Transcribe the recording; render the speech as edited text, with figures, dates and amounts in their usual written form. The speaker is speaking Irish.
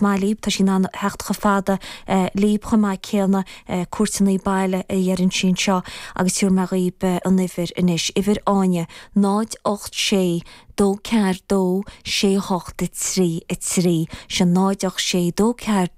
maith líob, tá sí in ann theacht chomh fada líob chomh maith céanna, cuairteanna baile a dheireann sí anseo agus tabharfaidh mé dhaoib an uimhir anois, uimhir Áine, 0 8 6 2 4 2 6 8 3 3, sin 0 8 6 2 4.